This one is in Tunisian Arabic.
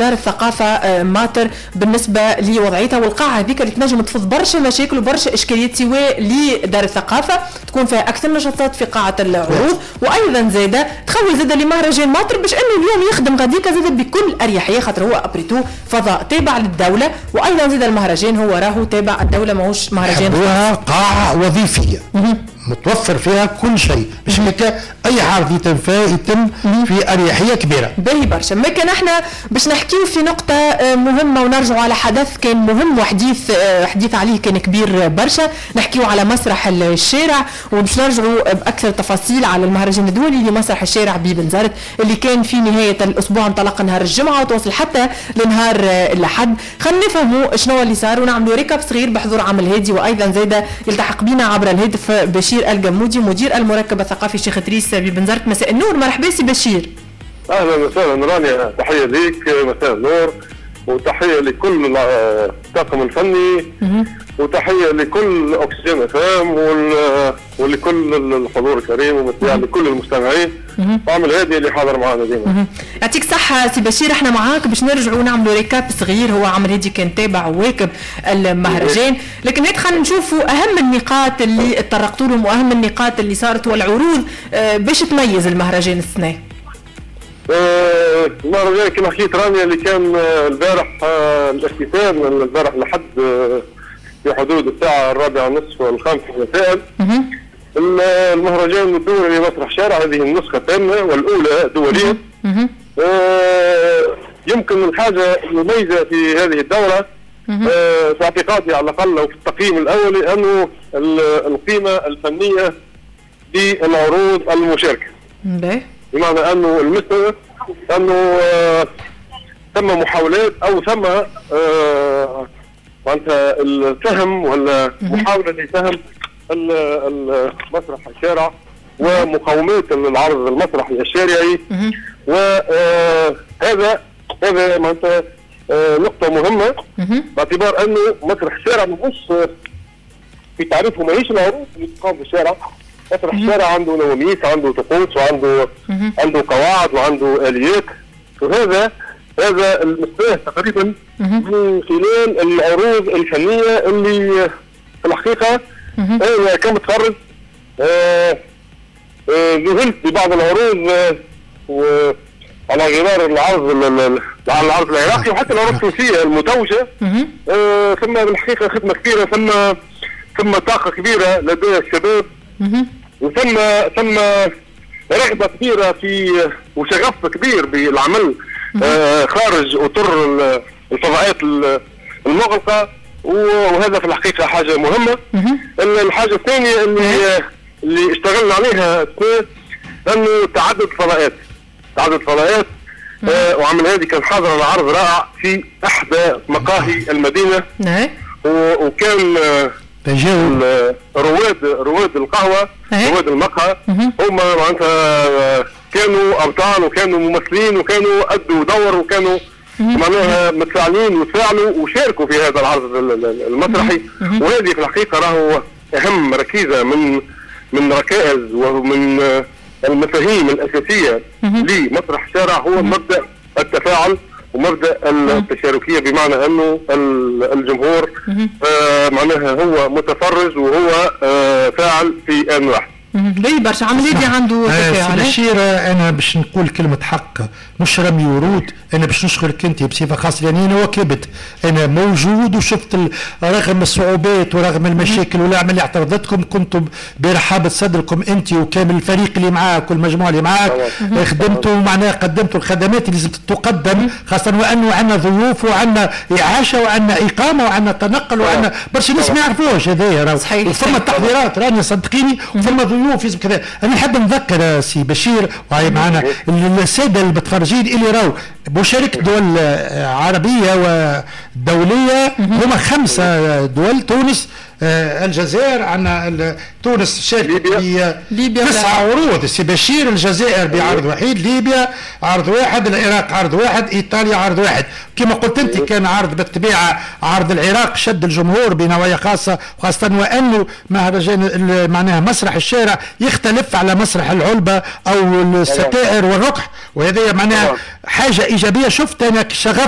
دار الثقافة ماطر بالنسبة لوضعيتها والقاعه هذيك اللي تنجم تفض برشا مشاكل وبرشا اشكاليات، سواء لدار الثقافة تكون فيها اكثر نشاطات في قاعة العروض، وايضا زاده تخول زاده لمهرجان ماطر باش انه اليوم يخدم غاديكا زاده بكل اريحيه، خاطر هو après tout فضاء تابع للدوله، وايضا زاده المهرجان هو راهو تابع الدوله، ماهوش مهرجان. قاعة وظيفية متوفر فيها كل شيء باش اي عرض يتم فيها يتم في اريحية كبيره. باهي برشا. ما كان احنا باش نحكيو في نقطة مهمة ونرجعوا على حدث كان مهم وحديث حديث عليه كان كبير برشا، نحكيو على مسرح الشارع، وباش نرجعوا باكثر تفاصيل على المهرجان الدولي لمسرح الشارع ببنزرت اللي كان في نهاية الاسبوع، انطلق نهار الجمعة وتوصل حتى لنهار الاحد. خلينا نفهموا شنو اللي صار ونعملوا récap صغير بحضور عم الهادي، وايضا زاده يلتحق بنا عبر الهاتف بشير الجمودي مدير المركب الثقافي الشيخ ادريس ببنزرت. مساء النور، مرحبا سي بشير. اهلا وسهلا رانيا، تحية ليك، مساء النور، وتحية لكل الطاقم الفني، وتحية لكل اكسجين اف ام ولكل الحضور الكريم وبالطبيعه لكل المستمعين وعم الهادي اللي حاضر معنا ديما. يعطيك صحة سي بشير، احنا معاك باش نرجعوا نعملوا récap صغير. هو عم الهادي كان تابع وواكب المهرجان، لكن هيك خلينا نشوفوا اهم النقاط اللي تطرقتوا لهم واهم النقاط اللي صارت والعروض باش تميز المهرجان السنة. المهرجان كما حكيت رانيا اللي كان البارح الاختتام البارح لحد في حدود الساعة 4:30 والخامسة مساء. المهرجان الدولي لمسرح شارع، هذه النسخة الثامنة والأولى دوليا. يمكن الحاجة المميزة في هذه الدورة في اعتقادي على الأقل وفي التقييم الأولي أنه القيمة الفنية للعروض المشاركة. بمعنى أنه المستوى أنه ثم محاولات أو ثم معناتها الفهم ولا محاولة لفهم المسرح الشارع ومقاومات العرض المسرحي الشارعي، وهذا هذا معناتها نقطة مهمة باعتبار أنه مسرح الشارع ماهوش في تعريفه ماهيش العروض اللي تقام في الشارع. مسرح الشارع عنده نواميس، عنده طقوس، وعنده عنده قواعد وعنده آليات، وهذا المصباح تقريبا من خلال العروض الفنية اللي في الحقيقة أنا كمتخرج ذهلت ببعض العروض على غرار العرض العرض العراقي وحتى العروض التونسية المتوجة. ثم بالحقيقة خدمة كبيرة، ثم طاقة كبيرة لدى الشباب، وثم رغبة كبيرة في وشغف كبير بالعمل خارج أطر الفضاءات المغلقة، وهذا في الحقيقة حاجة مهمة. الحاجة الثانية اللي اشتغلنا عليها أنه تعدد الفضاءات، تعدد الفضاءات. وعم الهادي كان حاضر على عرض رائع في إحدى مقاهي المدينة، وكان رواد القهوة، رواد المقهى، هم معناتها كانوا أبطال وكانوا ممثلين وكانوا أدوا دور وكانوا معناها متفاعلين وتفاعلوا وشاركوا في هذا العرض المسرحي. وهذه في الحقيقة راهو أهم ركيزة من ركائز ومن المفاهيم الأساسية لمسرح الشارع، هو مبدأ التفاعل ومبدأ التشاركية، بمعنى أنه الجمهور معناها هو متفرج وهو فاعل في آن واحد. ليه برشا عملية عنده تفاعل. بشير، أنا باش نقول كلمة حق مش رمي ورود، أنا باش نشكرك أنت بصفة خاصة، لأني أنا وكبت، أنا موجود وشفت رغم الصعوبات ورغم المشاكل والأعمال اللي اعترضتكم، كنتم برحابة صدركم أنت وكامل الفريق اللي معاك والمجموعة اللي معاك، خدمتوا معناها قدمتوا الخدمات اللي لازم تقدم، خاصة وأنه عندنا ضيوف وعندنا إعاشة وعندنا إقامة وعندنا تنقل وعندنا برشا ناس ما يعرفوش هذايا، وثم التحضيرات راني صدقيني، وثم ضيوف كذا. أنا نحب نذكر سي بشير وهي معنا السادة المتفرجين اللي راو مشاركة دول عربية ودولية، هما 5 دول: تونس، الجزائر، عندنا تونس شاركت ب 9 عروض سي بشير، الجزائر بعرض وحيد، ليبيا عرض واحد، العراق عرض واحد، ايطاليا عرض واحد. كما قلت انت كان عرض بالطبيعة عرض العراق شد الجمهور بنوايا خاصة، وخاصة وانه مهرجان معناها مسرح الشارع يختلف على مسرح العلبة او الستائر والركح، وهذه معناها حاجة ايجابية. شفت انا شغف